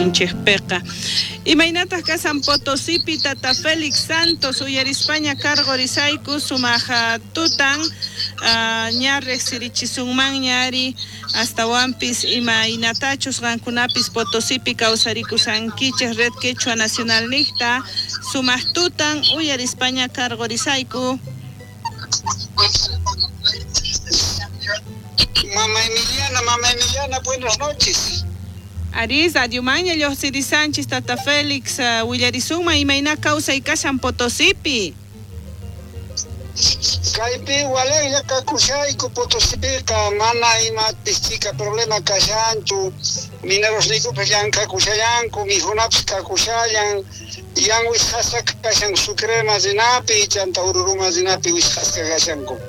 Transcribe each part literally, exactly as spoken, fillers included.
Inchejpeqa. Imaynataq kasan Potosipi Tata Félix Santos uyarispaña cargorisayku sumaq tutan ña riqsirichisunmanña ari astawanpis imaynatachus qankunapis Potosipi kawsarikusankichej Red Quechua Nacional niqta sumaq tutan uyarispaña cargorisayku. Mama Emiliana, Mama Emiliana, buenas noches. Aris, adiumaña lluqsirisanchis Tata Félix, uh, willarisunman imayna kawsay kashan Potosipi. Kaypi walejlla kakushayku Potosipiqa mana imapis chika problema kashanchu, minerosniykupis llank'akushallanku, mikhunapis kakushallan, yan wisqasqa kashan Sucrema rinapi, chanta Ururuma rinapi wisqasqa kashanku.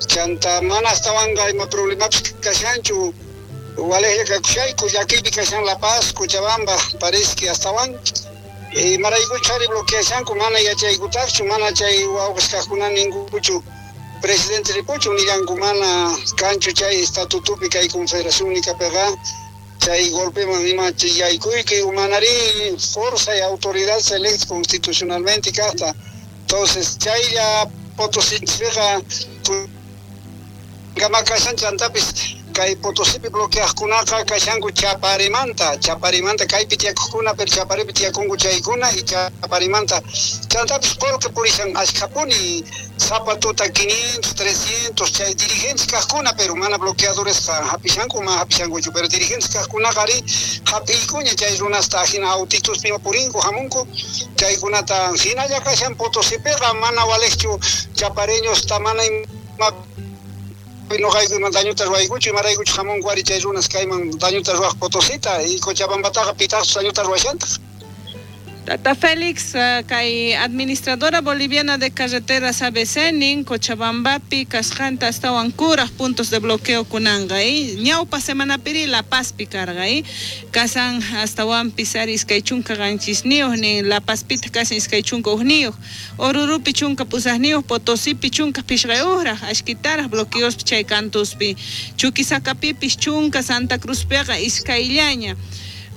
Chanta mana astawanqa ima problemapis kashanchu. Walejlla kakushayku, llakiypi kashan La Paz, Cochabamba, parece astawan. Imaraykuchari bloqueashanku mana yachaykutaqchu, mana chay wawqis kaqkuna ninkuchu presidente ripuchu nillanku mana kanchu chay estatutupi kay confederación nikapiqa chay golpeman ima yaykuyki manari fuerza y autoridad se electa constitucionalmente kaqta. Entonces chaylla Potosipiqa kama kashan chantapis kay Potosipi bloqueaqkunaqa kashanku Chaparimanta, Chaparimanta kaypi tiyakuqkuna pero Chaparipi tiyakunku chaykuna y Chaparimanta chantapis qullqi purishan ashkhapuni sapa tuta quinientos, trescientos chay dirigentes kaqkuna pero mana bloqueadoresqa hapishanku mana hapishankuchu pero dirigentes kaqkunaqa ari hap'iykuña chay runasta hina autituspi purinku hamunku chaykunata hinalla kashan Potosipiqa mana walejchu chapareñosta mana ima noqaykuman dañuta ruwaykuchu imaraykuchu hamunku ari chay runas kayman dañuta ruwaq Potosita y Cochabambataqa pitaqchus dañuta ruwashantaq. Tata Félix, uh, kay administradora boliviana de carreteras A B C nin Cochabambapi kasqanta astawan kuraj puntos de bloqueo kunanqa y ñawpa semanapiri La Pazpi karqa y kasan astawanpis ari iskay chunka qanchisniyuq nin La Pazpitaq kasan iskay chunka hukniyuq Orurupi chunka pusaqniyuq Potosipi chunka phishqayuqraq ashkitaraq bloqueospi chay kantuspi Chuquisacapipis chunka Santa Cruzpiqa iskayllaña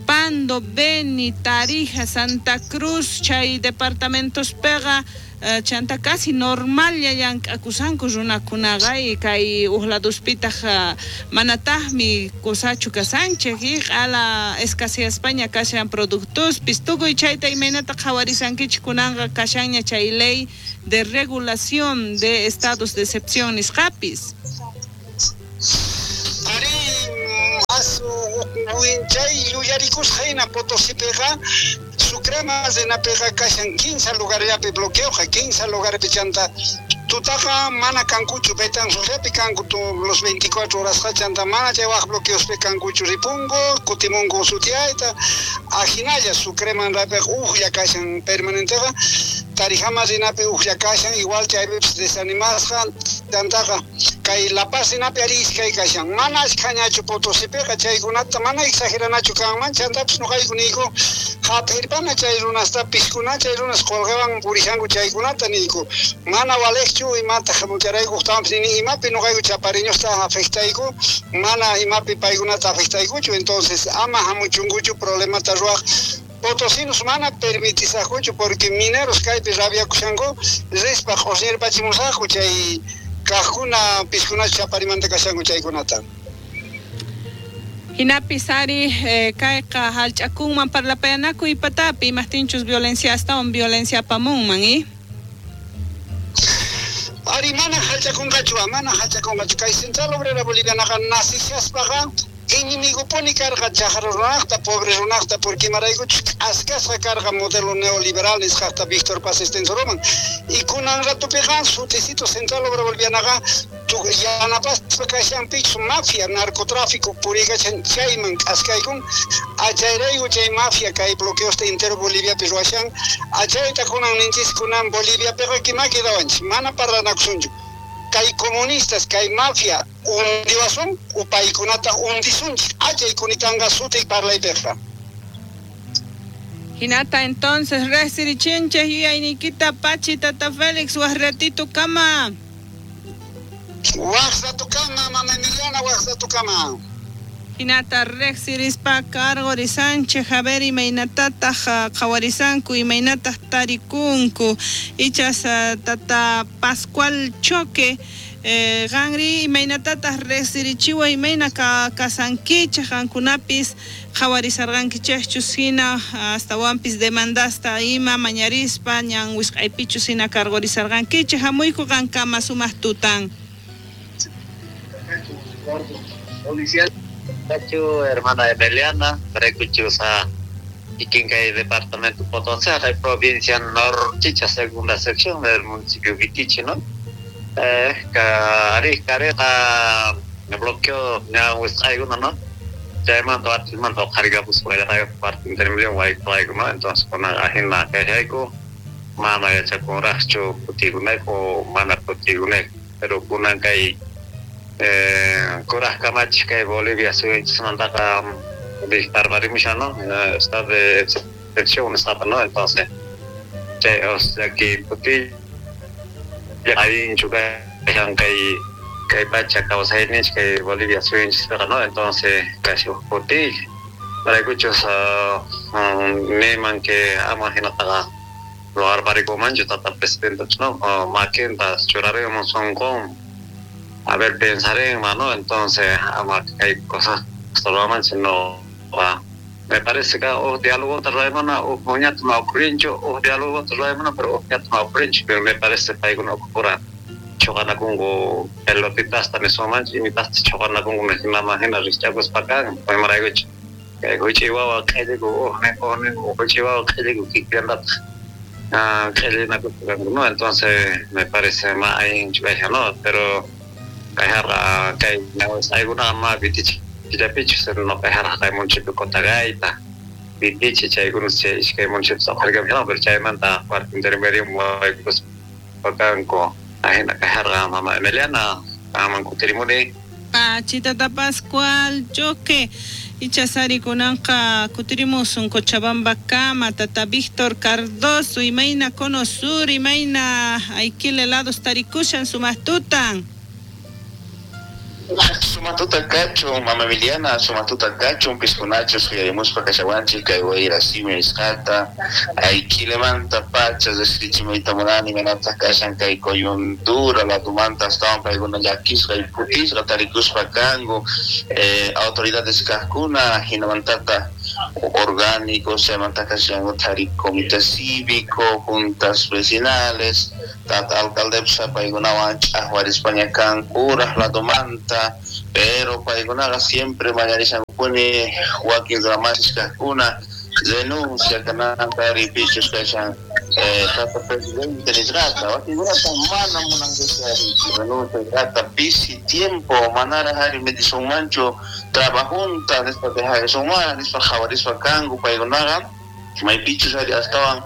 Pando, Beni, Tarija, Santa Cruz, chay departamentos pega, uh, chanta casi normal ya llank'akusanku runakunaqa y kay uqladuspitaq uh, manataqmi kusachu kasanchik y q'ala escaseaspaña kashan productospis tukuy chayta imaynata qhawarisankichik kunanqa kashanña chay ley de regulación de estados de excepción nisqapis. Chay yuyarikusqa hina Potosipiqa Sucrema rinapiqa kashan quince lugarllapi bloqueoqa quince lugarpi chanta tutaqa mana kankuchu Betanzosllapi kanku los veinticuatro horasqa chanta mana chay waq bloqueospi kankuchu ripunku kutimunku sutiyayta ajinalla Sucreman rapiqa ujlla kashan permanenteqa Tarijama rinapi ujlla kashan igual chaypipis desanimasqa chantaqa kay La Paz rinapi ari iskay kashan mana ashkhañachu Potosipiqa chaykunata mana exageranachu kanman chantapis noqayku niyku hap'irpana chay runasta piskuna chay runas qullqiwan purishanku chaykunata niyku mana walejchu imata hamucharayku uqtawanpis nini imapi noqayku chapariñosta afectayku mana imapi paykunata afectaykuchu entonces ama hamuchunkuchu problemata ruwaq Potosinos mana permitisaqkuchu porque mineros kaypi rabiakushanku rispa q'usñirpachimusaqku chay kaqkuna piskuna chaparimanta kashanku chaykunata. Hinapis ari eh, kayqa hallch'akunman parlapayanakuy patapi imaqtinchus violencia astawan violencia apamunman y Ari mana hallch'akunqachu mana hallch'akunqachu kay Central Obrera Bolivianaqa nasishaspaqa enemigopuni karqa chaqra runaqta pobre runaqta porque imaraykuchus k'askasqa karqa modelo neoliberal nisqaqta Víctor Paz Estenssoroman y kunan ratupiqa suticito Central Obrera Bolivianaqa yanapaspa kashanpichu mafia narcotráfico purikachan chayman k'askaykun achayrayku chay mafia kay bloqueosta entero Boliviapi ruwashan achayta kunan ninchis kunan Boliviapiqa kima quedawanchik mana parlanakusunchu kay comunistas kay mafia hundiwasun upaykunata hundisunchik achay kunitanqa suti parlaypiqa. Hinata entonces resirichinchej yuyayniykita pachi Tata Félix waq ratito kama. Waq rato kama Mama Emiliana waq rato kama. Hinata riqsirispa karqurisanchik, a ver imaynatataq qhawarisanku, imaynataq tarikunku. Ichas tata Pascual Choque, eh, qanri imaynatataq riqsirichiwa, imayna ka kasankichik qankunapis qhawarisarqankichikchus hina astawanpis demandasta ima mañarispa ñan wisq'aypichus hina karqurisarqankichik. Hamuyku qankama sumaq tutan. Policial hermana Emiliana, Recuchusa, Iquincay, departamento Potosí, provincia Norchicha, segunda sección del municipio Vitichi, ¿no? Eh, cari, careja, me bloqueó, ya, pues, alguna, ¿no? Ya mando a mando carga, pues, voy a dar parte intermedio, voy a ¿no? Entonces, con la agenda que hay, mana ya con racho, putiguneco, mana putiguneco, pero con hay Eh, kuraj kamach kay Bolivia suyunchismantaqa disparparimushan, ¿no? Estado de excepción está, ¿no? Entonces, chay, o sea que puti allinchu kashan kay kay pacha kawsayninchik kay Bolivia suyunchispiqa, ¿no? Entonces, casi uj putilla paraykuchus niman que ama hinataqa ruwarparikumanchu tata presidente, ¿no? Makinta churarimun sonqon. A ver, pensaré, mano, entonces, ama hay cosas no va. Me parece que o diálogo traemana o moñato no ocurrincho, o diálogo traemana, pero o no ocurrincho, pero me parece que hay una ocurra chocana con pelotitas también son manch y mitas chocana con me mama hina richagus pacan, pues maraguch. Que huichihuahua que digo, o ne o ne huichihuahua que digo que anda ah que no, entonces me parece más ahí no, pero kayharqa kay alguna ma Vitichi killapichus no kayharqa kay municipio Cotagaita Vitichi chaykuna chay iskay municipios aqharkamuyana pero chaymanta cuarto intermedio muwaykuspakanku ajina kayharqa mama Emiliana aman kutirimuni. Pachitata Pascual Choque ichasari kunanqa kutirimusun Cochabamba kama tata Víctor Cardoso imayna cono sur imayna Aiquile lados tarikushan sumaq tutan. Sumatuta kacho, mama Emiliana, sumatuta kacho, piscunacho, suyarimuspa kashawanchik, kay wayra simi nisqata, Aiquilemanta pachas, descrichimayta munani, manataq kashan kay coyuntura, latumanta astawan paykuna llakisqa y phutisqa tarikuspa kanku, eh, autoridades kaqkuna, hinamantata orgánicos, chaymanta kashan tari comité cívico, juntas vecinales, tata alcaldepsa paykunawan ch'aqwarispaña kan kuraj latumanta, pero paykunaqa siempre mañarishankupuni wakin ramasis kaqkuna denuncia kananta ripichus kashan eh, tata presidente nisqata wakinkunata mana munankuchu renuncia nisqata pisi tiempo manaraj ari medisunmanchu trabajunta nispa dejasunman nispa qhawarispa kanku paykunaqa maypichus ari astawan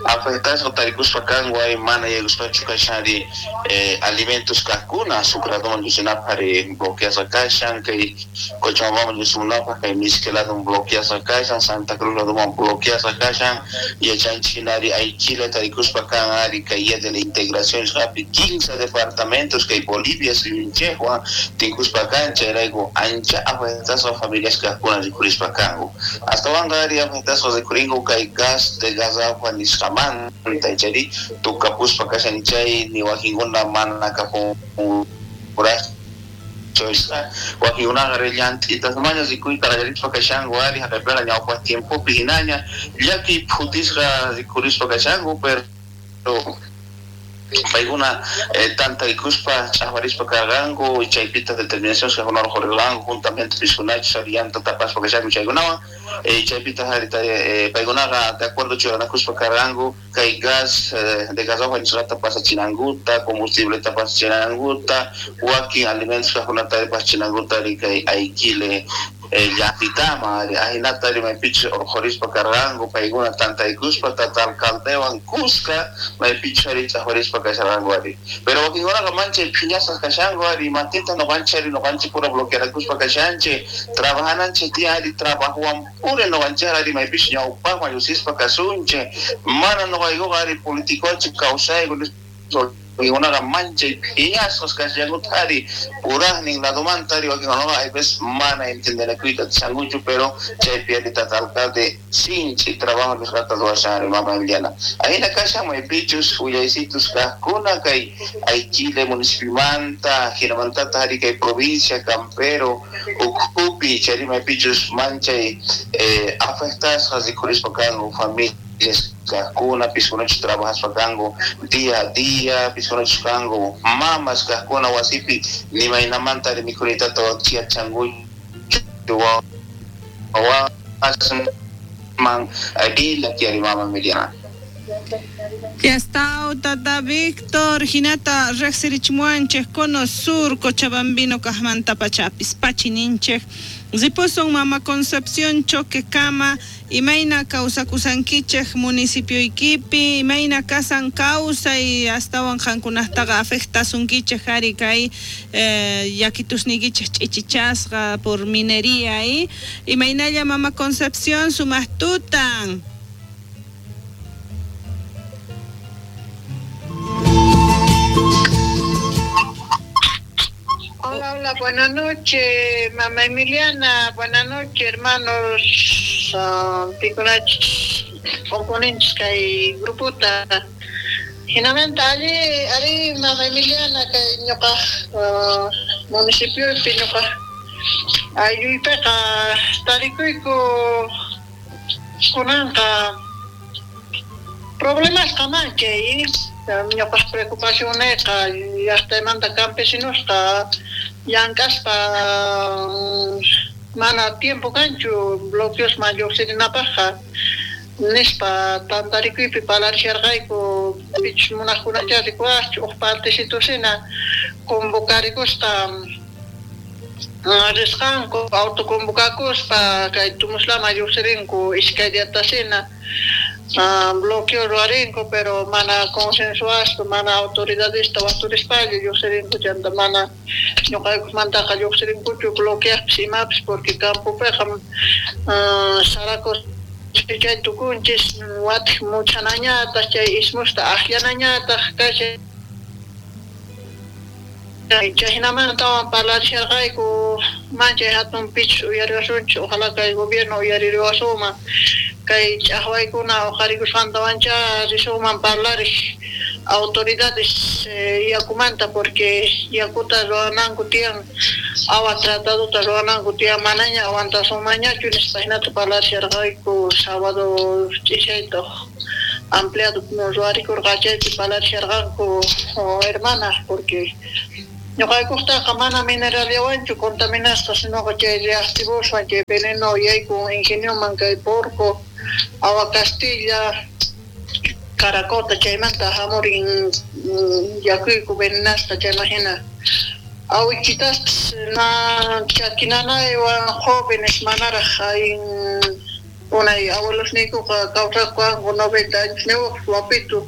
afectasqa tarikuspa kanku ay mana yaykuspachu kashan ari eh, alimentos kaqkuna azucradoman lluqsinapaq ari bloqueasqa kashan kay Cochabambaman lluqsimunapaq kay Misque ladoman bloqueasqa kashan Santa Cruz ladoman bloqueasqa kashan yachanchik hina ari Aiquile tarikuspa kan ari kay día de la integración nisqapi quince departamentos kay Bolivia suyunchikwan tinkuspa kan chayrayku ancha afectasqa familias kaqkuna rikurispa kanku astawanqa ari afectasqa rikurinku kay gas de garrafa nisqamanta chayri tukapuspa kashan chay ni wakinkuna mana kapunkuraqchu wakinkunaqa llant'itasmaña rikuyta qallarispa kashanku ari haqaypiqa ñawpaq tiempopi hinaña llakiy phutisqa rikurispa kashanku pero paykuna eh, tantaykuspa ch'aqwarispa karqanku chaypita determinación kaqkuna urqurqanku juntamente piskunachus ari llanta tapaspa kashanku chaykunawan eh, chaypita eh, paykunaqa de acuerdo churanakuspa karqanku kay gas eh, de garrafa nisqata pasachinankuta combustibleta pasachinankuta wakin alimentos kaqkunata pasachinankuta ari kay Aiquile llaqtitama ari ahinata ari maypichus urqurispa karqanku paykuna tantaykuspa tata alcaldewan kuska maypichus ari ch'aqwarispa kasharqanku ari pero wakinkunaqa manchay phiñasqas kashanku ari matinta nuqanchik ari nuqanchik pura bloquearakuspa kashanchik trabajananchik tiyan ari trabajowan puri nuqanchik ari maypichus ñawpaqman llusispa kasunchik mana nuqaykuqa ari politicochik kawsayku Paykunaqa manchay phiñasqas kashankutari purajnin ladomantari wakinkunaqa hay veces mana entendenakuyta atishankuchu pero chaypi ari tata alcalde sinchi trabajo nisqata ruwashan mama Emiliana. Ahina kashan maypichus willaysitus kajkuna kay Aiquile municipiomanta jinamantata ari kay provincia Campero ukhupi chayri maypichus manchay eh, afectasqas rikhurispa kanku familias kajkuna piskunachus trabajaspa kanku día a día piskunachus kanku mamas kajkuna wasipi nimaynamanta ari mikhunitata wakiachankuchu wawasman ila kiari mama Emiliana. Ya está, tata Víctor, hinata rejsirichmuanchej cono sur, Cochabambino, kajmanta pachapis, pachininchej, ripusun mama Concepción Choquecama, imayna kawsakusankichej municipio ikipi, imayna kasan kawsay astawan qankunataqa afectasunkichej ari kay eh, yakitusniykichej ch'ichichasqa por minería y imaynalla mama Concepción sumaq tutan. Hola, hola, buenas noches, mamá Emiliana, buenas noches, hermanos, uh, pikunach, componentes kay grupota. Hinamanta allí, allí, mamá Emiliana, kay ñuqa uh, municipiopi ñuqa aylluypiqa tarikuyku kunanqa problemasqa manchay ñuqaq preocupacionniqa llaqtaymanta campesinosqa llank'aspa mana tiempo kanchu bloqueosman lluqsirinapaqqa nispa tantarikuypi parlarisharqayku pichus munaqkunacha rikuwaqchu uq partecitusina convocarikusqa risqanku autoconvocakuspa kay Tumuslaman lluqsirinku iskay diatasina Uh, bloqueo ruwarinku pero mana consensuaspa mana autoridadesta waqturispalla lluqsirinku chanta mana ñuqaykumantaqa lluqsirinkuchu bloqueaqpis imapis porque campopiqa uh, saracos chay tukunchis watij muchanañataq chay ismusta akllanañataq kashan chayhinamantawan parlarisharqayku manchay hatun pichus uyariwasunchis ojalá kay gobierno uyaririwasunman kay ch'aqwaykuna uqarikusqantawancha risunman parlariq autoridades eh, yakumanta porque yakuta ruwananku tiyan agua tratadota ruwananku tiyan manaña aguantasunmanñachu nispa hinata parlarisharqayku sábado ch'ishayta ampliado ruwarikurqa chaypi parlarisharqanku hermanas porque ñuqaykuqtaqa mana mineralllawanchu contaminasqa sinoqa chay reactivoswan chay veneno yaykun ingenioman kay porco agua Castilla Caracota chaymanta hamurin yakuyku venenasqa chayman hina awichitaspis na chakinanaywan jóvenes manaraq ayin unay abuelosniykuqa kawsakuanku noventa añosniyuq wapitu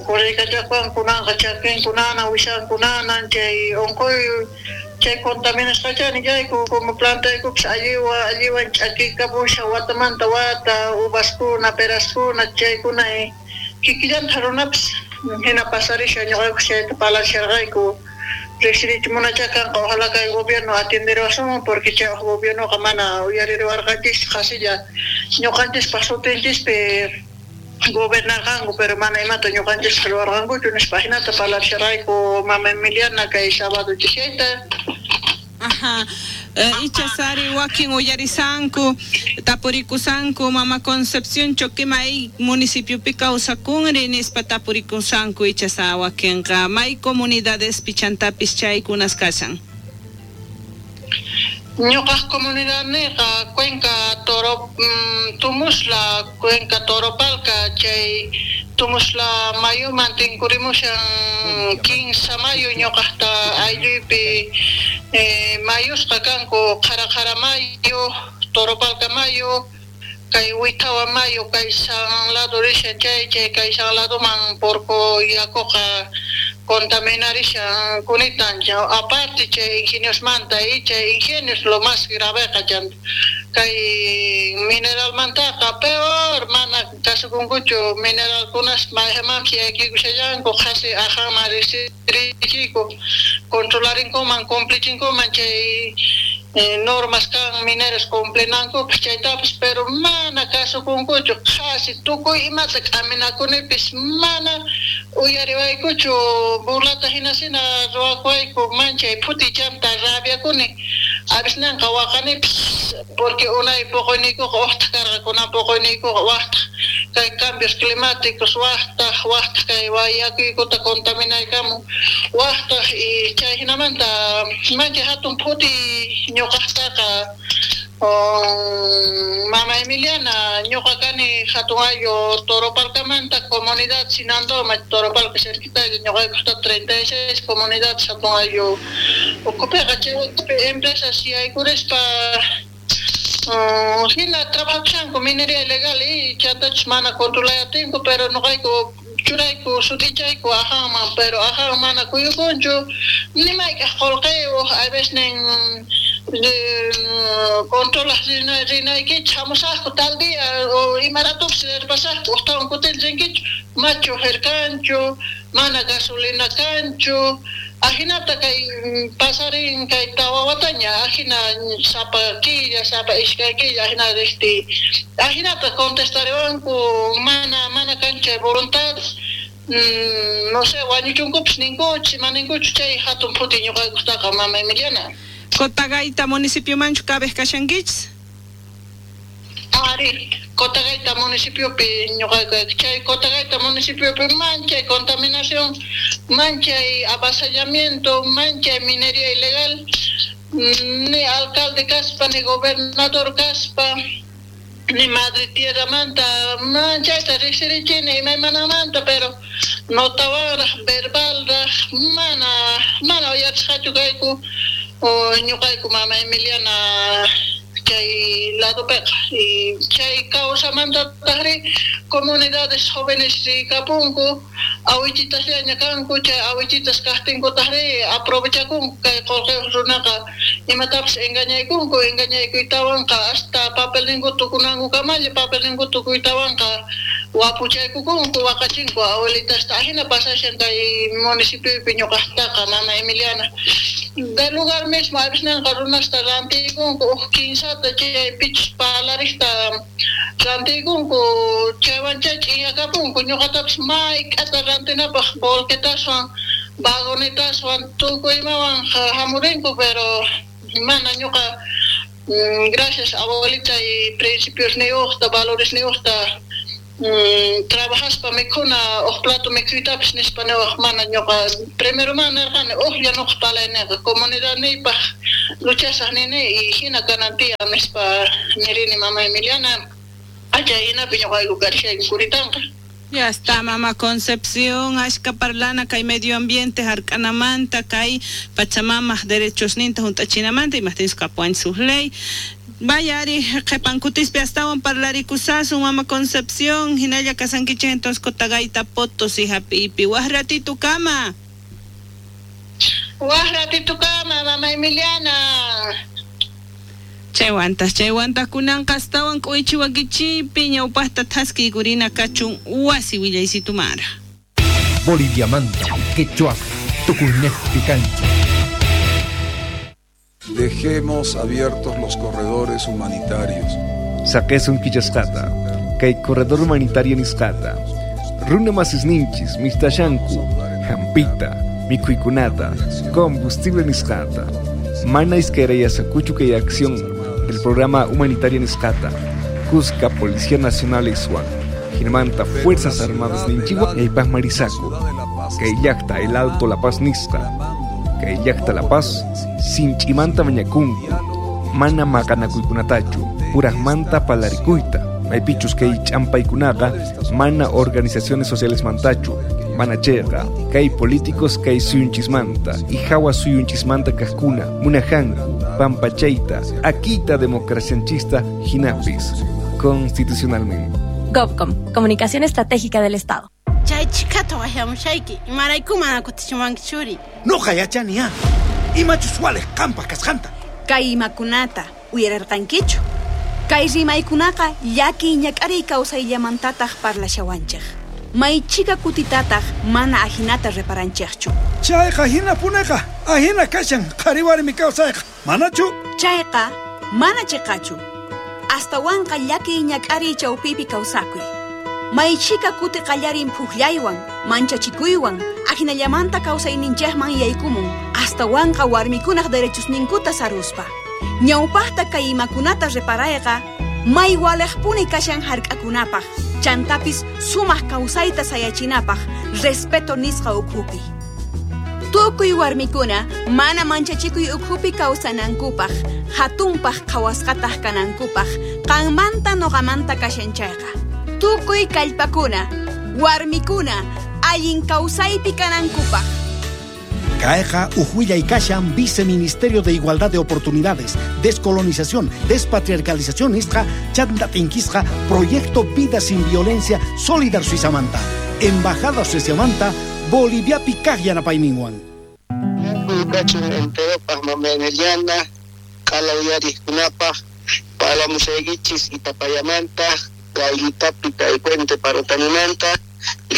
correykachakuan kunanqa chakinkunana wishankunanan chay unquy chay contaminasqachani chayku como plantaykupis alliwan alliwan ch'akikapushan watamanta wata uvaskuna peraskuna chaykuna kikillanta runapis hina pasarishan ñuqayku chayta parlarisharqayku riqsirichimunacha kanqa ojalá kay gobierno atienderiwasunman porque chay uq gobiernoqa mana uyaririwarqanchis qhasilla ñuqanchispaq sutinchispi gobernarqanku pero mana imata ñuqanchisqa ruwarqankuchu nispa hinata parlarisharqayku mama Emiliana kay sábado ch'ishayta. Ajá. Eh, icha sari wakin uyarisanku tapurikusanku mama Concepción Choquema may municipiopi kawsakunri nispa tapurikusanku icha sa wakinqa may comunidades pichantapis chaykunas kashan. Ñuqaq comunidadniqa Cuenca Toro mm, Tumusla Cuenca Toropalca chay Tumusla mayuman tinkurimushan kinsa mayu ñuqaqta aylluypi eh, mayusqa kanku Qhara Qhara mayu Toropalca mayu Kay Huitawa Mayo kay San lado rishan chay chay kay San ladoman porco yakuqa contaminarishan kunitan aparte chay ingenios manta y chay ingenios lo más graveqa chanta kay mineral mantaqa peor mana kasukunkuchu mineralkunas maymanpis yaykikushallanku qhasi ajanman riqsirichiku controlarinkuman cumplichinkuman chay Eh, normas kan mineros cumplinankupas chaytapas pero mana kasukunkuchu qhasi tukuy imata k'aminakunipis mana uyariwaykuchu burlata hinasina ruwakuwayku manchay phutichanta rabiakuni avisnanqa waqanipis porque unay puquyniykuqa uqtaq karqa kunan puquyniykuqa waqtaq kay cambios climáticos waqtaq waqtaq kay yakuykuta contaminaykamun waqtaq y chay hinamanta manchay hatun phuti ñuqaqtaqa Mama Emiliana ñuqa kani hatun ayllu Toropalcamanta comunidad Sinandoma Toropalca cerquita ñuqaykusta treinta y seis comunidad hatun ayllu ukupiqa chay empresas yaykurispa hina trabajashanku minería ilegal y chantachus mana controlayatinku pero ñuqayku churayku sutichayku ajanman pero ajan mana kuyukunchu ni mayk'aq qullqiyuq a veces controlas rinaykichik hamusaqku tal día o imaratupis rirpasaqku uqtawan kutin rinkichu machu jirkanchu mana gasolina kanchu ajinata kay pasarin kay tawa wataña ajina sapa killa sapa iskay killa ajina riqti ajinata contestariwanku mana mana kanchu voluntad mm, no sé wañuchunkupis ninkuchu ima ninkuchu chay hatun phuti ñuqaykustaqa mama Emiliana. Cotagaita municipiomanchu kabej kashankichis? Ari, Cotagaita municipiopi ñuqayku chay Cotagaita municipiopi manchay contaminación, manchay avasallamiento, manchay minería ilegal, ni alcalde kaspa, ni gobernador kaspa, ni madre tierra manta, manchayta riqsirichini imaymanamanta, pero notawanraq, verbalraq, mana, mana uyarisqachu kayku ñuqayku mama Emiliana chay ladopiqa y chay causamantataqri comunidades jóvenes rikapunku awichitasllaña kanku chay awichitas kaqtinkutaqri aprovechakunku kay qullqiyuq runaqa imatapis engañaykunku engañaykuytawanqa hasta papelninku tukunankukamalla papelninku tukuytawanqa wapuchaykukunku waqachinku abuelitasta ajina pasashan kay municipiopi ñuqaqtaqa mama Emiliana del lugar mismo avisnanqa runasta rantiykunku uj kinsata chay pichus palarikta rantiykunku chaywan chay ch'inyakapunku ñuqatapis mayk'ata rantinapaq volquetaswan vagonetaswan tukuy imawan hamurinku pero mana ñuqa gracias abuelita y principios niyuqta valores niyuqta Mm, trabajaspa mikhuna uj plato mikhuytapis nispa niwaq mana ñuqa primero mana nirqani ujlla ñuqa palayniqa comunidadniypaq luchasaq nini y hina kanan tiyan nispa nirini mama Emiliana achay hinapi ñuqayku karishayku kuritanqa. Ya está, mamá Concepción, ashka parlana kay medio ambiente hark'anamanta kay Pachamamaj derechos ninta hunt'achinamanta imajtinchus kapuwanchis uj ley. Vaya ari qhipankutispi astawan parlarikusasun mama Concepción hinalla kasankichik entonces Cotagaita Potosí hap'ipi waj ratito kama. Waj ratito kama mama Emiliana. Chaywantas chaywantas kunanqa astawan k'uychiwakichikpi ñawpaqta thaskiykurina kachun wasi willaysitumara. Boliviamanta, quechua, tukuynejpi kancha. Dejemos abiertos los corredores humanitarios. Saqesun killasqata, kay corredor humanitario nisqata. Runa masisninchis, mistashanku, hampita, mikhuykunata, combustible nisqata. Mana iskayrayasqakuchu kay acción del programa humanitario nisqata. Cusca Policía Nacional iswan, Hinamanta Fuerzas Armadas ninchiwa ñaypaq marisaku. Kay llaqta el Alto La Paz nisqa. Kay llaqta La Paz sinch'imanta mañakunku, mana maqanakuykunatachu, purajmanta palarikuyta, maypichus kay ch'ampaykunaqa mana organizaciones sociales mantachu, mana chayqa, kay políticos kay suyunchismanta y hawa suyunchismanta kaqkuna, munajanku, pampachayta, akita democracianchista hinapis, Constitucionalmente. GovCom, Comunicación Estratégica del Estado. Chay chikata wajamushayki, imarayku mana kutichiwanki churi. Noqa yachaniya, imachus waliq qanpaq kasqanta. Kay imakunata uyararqankichu. Kay rimaykunaqa llaki ñak'ariy kawsayllamantataq parlashawanchik. Maychika kutitataq mana ajinata reparanchikchu. Chayqa hinapuneqa, ajina kashan qhari warmi kawsayqa, manachu? Chayqa mana chiqachu. Astawanqa llaki ñak'ariy chawpipi kawsakuy. Maychika kuti qallarin phuqllaywan, manchachikuywan, ajinallamanta kawsayninchikman yaykumun, astawanqa warmikunaq derechosninkuta saruspa. Ñawpaqta kay imakunata reparayqa, may waliqpuni kashan hark'akunapaq, chantapis sumaq kawsayta sayachinapaq, respeto nisqa ukhupi. Tukuy warmikuna mana manchachikuy ukhupi kawsanankupaq, hatunpaq qhawasqataq kanankupaq, qanmanta noqamanta kashan chayqa. Tukuy kallpakuna, warmikuna, allin kawsaypi kanankupaq. Kayqa uj kashan Viceministerio de Igualdad de Oportunidades, Descolonización, Despatriarcalización nisqa, chanta tinkisqa, Proyecto Vida Sin Violencia, Solidar Suizamanta, Embajada Suizamanta, Boliviapi kaq yanapayninwan. Kachun enteropaq mama Emiliana, qalawiyariqkunapaq, palamushaykichis Itapayamanta, Gaylitapi kay Puente Parotanimanta,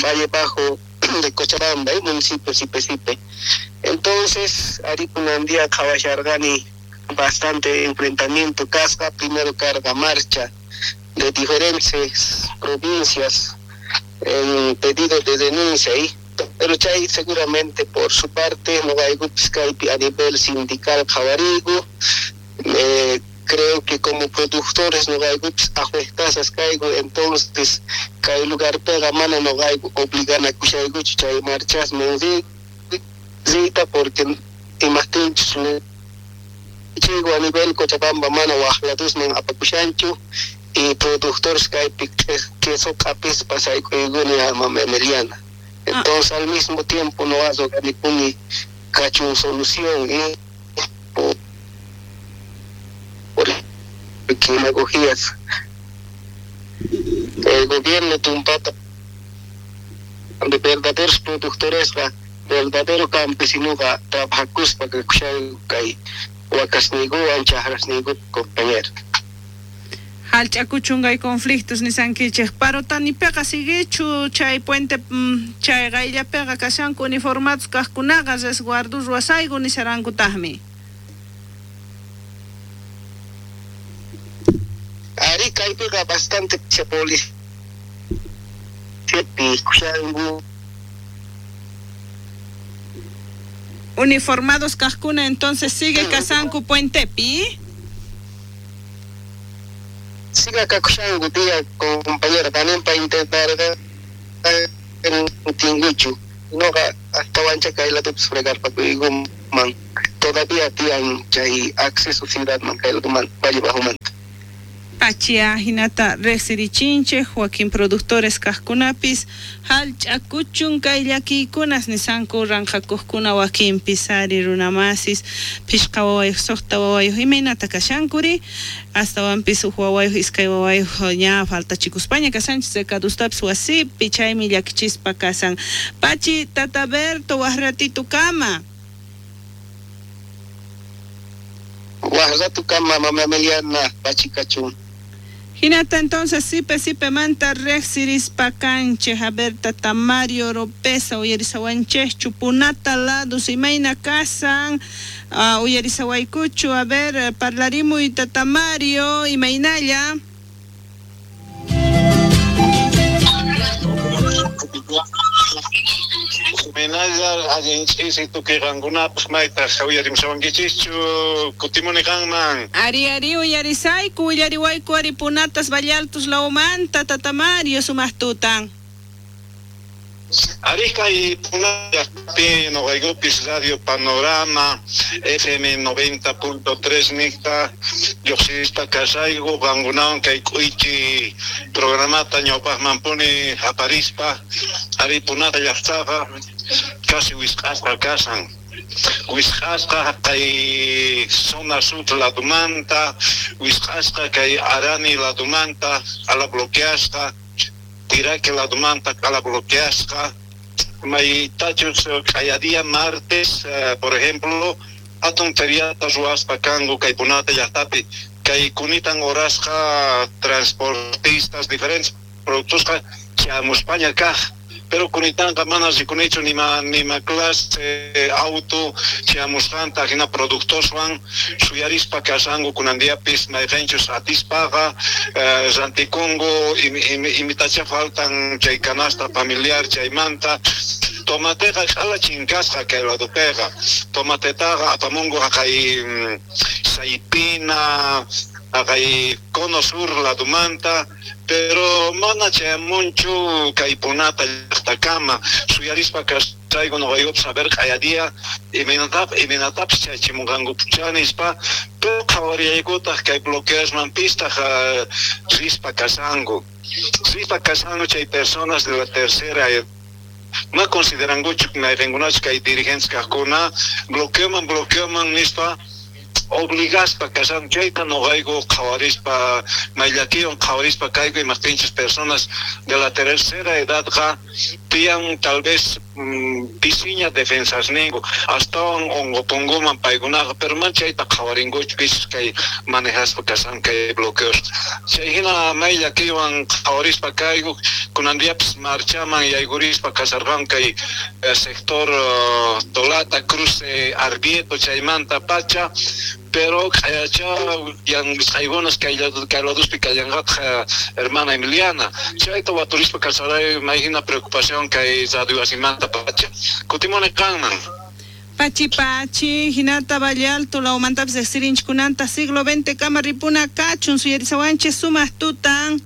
Valle Bajo de Cochabamba, ¿eh? Municipio Sipe Sipe. Entonces, Aripunandía, Qhawasharqani, bastante enfrentamiento, casca, primero carga marcha de diferentes provincias en pedido de denuncia, ¿eh? Pero chay seguramente por su parte, no hay a nivel sindical Qhawarigu, eh, creo que como productores no hay ajuestasas caigo, entonces kay lugar pega mano no hay obligan a kushaygu chay marchas me rita porque imagínate chigo a nivel Cochabamba mano waqladusman apakushanchu y productores kaypi queso kapis pasaykuyuni mama Emiliana. Entonces al mismo tiempo no hago ni cachun solución ¿eh? Por demagogías. El gobierno tumpata de verdaderos productores, verdadero campesino trabaja que kay wakasniguwan chahrasnigu compañero. Hallch'akuchun conflictos nisankichik Parotanipiqa siguichu chay puente chay qayllapiqa kashanku uniformados kaqkunaqa resguardo ruwasayku nisarankutaqmi. Ari kaypiqa bastante policía kushanku uniformados kaqkuna entonces sigue kasanku puentepi. Siga kakushanku tía compañera también para intentar en tinguchu noqa hasta wancha kaylatupis fregarpakuykuman todavía tiyan chay acceso ciudadman kaylakuman Valle Bajomanta. Pachia hinata riqsirichinchik wakin productores kaqkunapis hallch'akuchun kay llakiykunas nisanku ranqhakuqkuna wakinpis ari runamasis phishqa wawayuq suqta wawayuq imaynata kashankuri astawanpis huk wawayuq iskay wawayuq ña faltachikuspaña kashanchis recadustapis wasipi chaymi llakichispa kasan. Pachi Tata Berto waq ratitukama. Waq ratukama mama Emiliana pachikachun. Hinata entonces sipe sipe manta riqsirispa kanchik a ver Tata Mario Oropesa uyarisawanchikchu punata ladus imayna kasan uh, uyarisawaykuchu a ver parlarimuy Tata Mario imaynalla. Imaynalla allin ch'isi tukuy qankunapaq maytaq uyarimusawankichischu kutimuni qanman. Ari ari uyarisayku willariwayku ari punatas Valle Altos lawmanta Tata Mario sumaq tutan. Ari kay punatapi noqaykupis Radio Panorama F M noventa punto tres niqta lluqsispa kasayku qankunawan kay k'uychi programata ñawpaqmanpuni aparispa ari punata llaqtaqa casi wisq'asqa kasan. Wisq'asqa kay zona sur ladumanta, wisq'asqa kay Arani ladumanta, q'ala bloqueasqa, Tiraque ladumanta q'ala bloqueasqa, maytachus q'aya día martes, por ejemplo, hatun feriata ruwaspa kanku kay Punata llaqtapi, kay kunitan horasqa transportistas diferentes productosqa chamuspaña kaq. Pero kunitanqa mana rikunichu nima nima clase auto chamusqanta hina productoswan suyarispa kashanku kunan diapis mayqinchus atispaqa rantikunku imitacha faltan chay canasta familiar chaymanta tomateqa q'ala chinkasqa kay ladopiqa tomatetaqa apamunku haqay Saypina haqay cono sur ladumanta pero mana chayamunchu kay Punata llaqtakama suyarispa kasayku noqaykupas saber q'aya día imaynatap imaynatapis chayachimunqankupuchá nispa pero qhawarillaykutaq kay bloqueosman pistaq rispa kashanku rispa kashanku chay personas de la tercera edad ma considerankuchu mayqinkunachu kay dirigentes kaqkuna bloqueoman bloqueoman nispa obligaspa kashan chayta noqayku qhawarispa mayllakiwan qhawarispa kayku imaqtinchus personas de la tercera edadqa tiyan tal vez pisiña defensasninku astawan unqupunkuman paykunaqa pero man chayta qhawarinkuchu pis kay manejaspa kashan kay bloqueos chay hina mayllakiwan qhawarispa kayku kunan diapis marchaman yaykurispa kasharqan kay sector uh, Tolata cruce Arbieto chaymanta pacha pero q'ayacha yan wisq'aykunas kay laduspi kallanqataq hermana Emiliana chayta waturispa kasaray may hina preocupación kay radio wasimanta pacha kutimuni qanman Pachi pachi hinata Valle Alto lawmantapis riqsirinchikkunanta siglo veinte kama ripuna kachun suyarisawanchis sumaq tutan.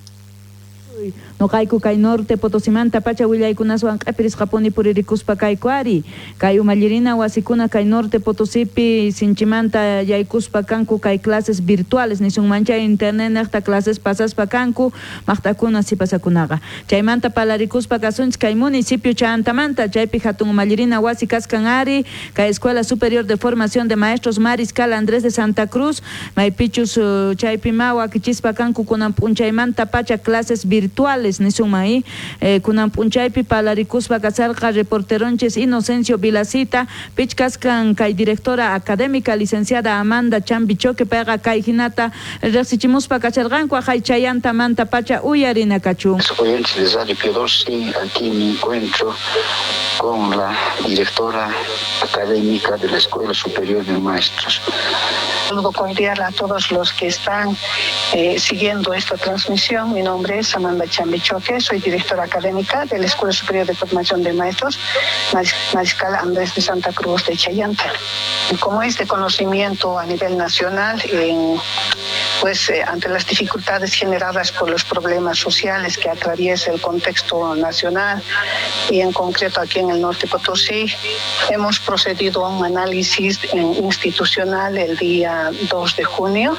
Noqayku kay norte Potosimanta pacha willaykunaswan q'epirisqapuni puririkuspa kayku ari kay umallirina wasikuna kay norte Potosipi sinchimanta yaykuspa kanku kay clases virtuales nisunman chay internet niqta clases pasaspa kanku maqtakuna sipasakunaqa chaymanta palarikuspa kasunchis kay municipio Chantamanta chaypi hatun umallirina wasi kaskan ari kay Escuela Superior de Formación de Maestros Mariscal Andrés de Santa Cruz maypichus chaypi ma wakichispa kanku kunan p'unchaymanta pacha clases virtuales nisunman eh, kunan p'unchaypi palarikuspa kasarqa reporteronchis Inocencio Vilacita pichkaskan kay directora académica licenciada Amanda Chambichoque payqa kay hinata riqsichimuspa kacharqanku aqhay chayantamanta pacha uyarina kachun. Oyentes de Radio Pío doce, aquí me encuentro con la directora académica de la Escuela Superior de Maestros. Saludo cordial a todos los que están eh, siguiendo esta transmisión. Mi nombre es Amanda Chambichoque, soy directora académica de la Escuela Superior de Formación de Maestros Mariscal Andrés de Santa Cruz de Chayanta. Como es de conocimiento a nivel nacional, en, pues eh, ante las dificultades generadas por los problemas sociales que atraviesa el contexto nacional y en concreto aquí en el norte Potosí, hemos procedido a un análisis institucional el día dos de junio,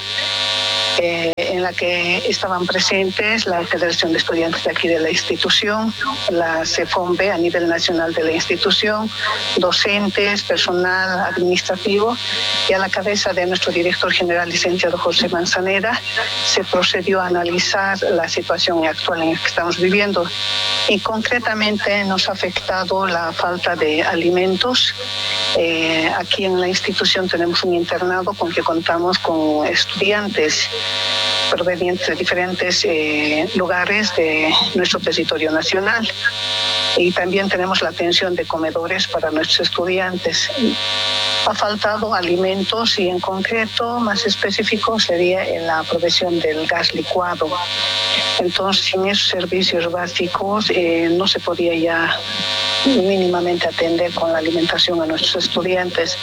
eh, en la que estaban presentes la Federación de Estudiantes de aquí de la institución, la CEFOMB a nivel nacional de la institución, docentes, personal administrativo, y a la cabeza de nuestro director general, licenciado José Manzanera, se procedió a analizar la situación actual en la que estamos viviendo. Y concretamente nos ha afectado la falta de alimentos. Eh, aquí en la institución tenemos un internado con que contamos con estudiantes provenientes de diferentes eh, lugares de nuestro territorio nacional. Y también tenemos la atención de comedores para nuestros estudiantes. Ha faltado alimentos y en concreto, más específico, sería en la provisión del gas licuado. Entonces, sin esos servicios básicos eh, no se podía ya mínimamente atender con la alimentación a nuestros estudiantes.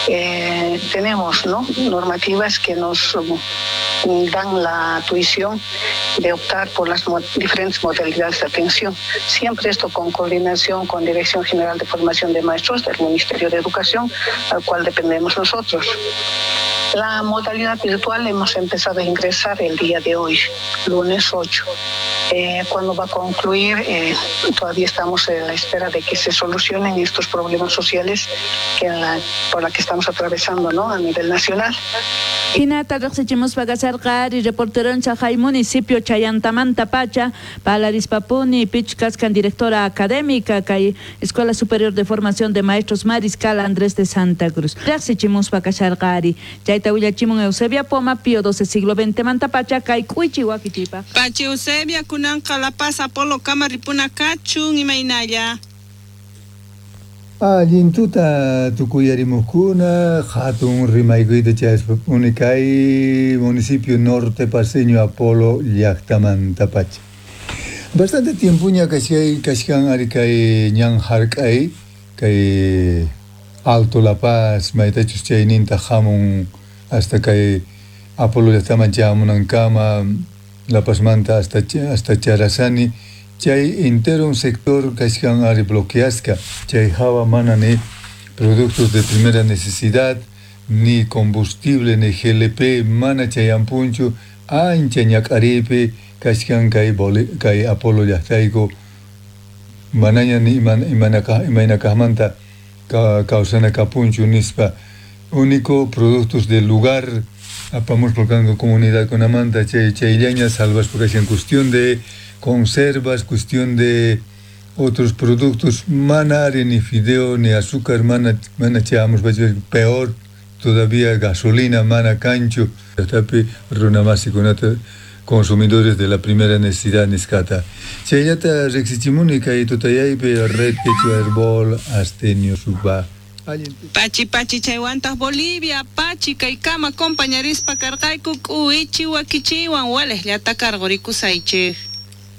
Eh, tenemos, ¿no?, normativas que nos dan la tuición de optar por las mo- diferentes modalidades de atención. Siempre esto con coordinación con Dirección General de Formación de Maestros del Ministerio de Educación, al cual dependemos nosotros. La modalidad virtual hemos empezado a ingresar el día de hoy, lunes ocho. Eh, ¿Cuándo va a concluir? Eh, todavía estamos en la espera de que se solucionen estos problemas sociales que en la, por la que estamos atravesando, ¿no?, a nivel nacional. Hinata riqsichimuspa kasharqa ari reporteroncha hay municipio Chayantamanta pacha palarispapuni pichkaskan directora académica kay Escuela Superior de Formación de Maestros Mariscal Andrés de Santa Cruz. Riqsichimuspa kasharqa ari chayta willachimun Eusebia Poma Pío doce siglo veinte manta pacha kay k'uychi wakichipa. Pachi Eusebia kunanqa La Paz Apolo kama ripuna kachun imaynalla. Allin tuta tukuyarimuskuna hatun rimaykuyta chayaspapuni kay municipio norte paseño Apolo llaqtamanta pacha. Bastante tiempoña kashkay kashkan ari kay ñan hark'ay kay Alto La Paz maytachus chayninta hamun hasta kay Apolo llaqtaman chayamunankama La Pazmanta hasta hasta Charazani chay entero un sector kashkan ari bloqueasqa chay hawa mana ni productos de primera necesidad ni combustible ni G L P mana chayampunchu ancha ñak'aripi kashkan kay boli, kay Apolo llaqtayku manaña ni imanaka imaynakaqmanta ka, kawsana kapunchu nispa único productos del lugar apamuspa kanku comunidad kunamanta chay chayllaña salvaspa kashan cuestión de conservas, cuestión de otros productos, mana ari ni fideo ni azúcar, mana, mana chayamos, peor todavía gasolina, mana cancho, tapi runamasikunata consumidores de la primera necesidad nisqata. Chayllata riqsichimuni kay tutayaypi red quechua herbol astenio suba. Pachi pachi chaywantaq Bolivia pachi kaykama compañarispa karqayku k'uichi wakichiwan walejllata karqurikusaychik.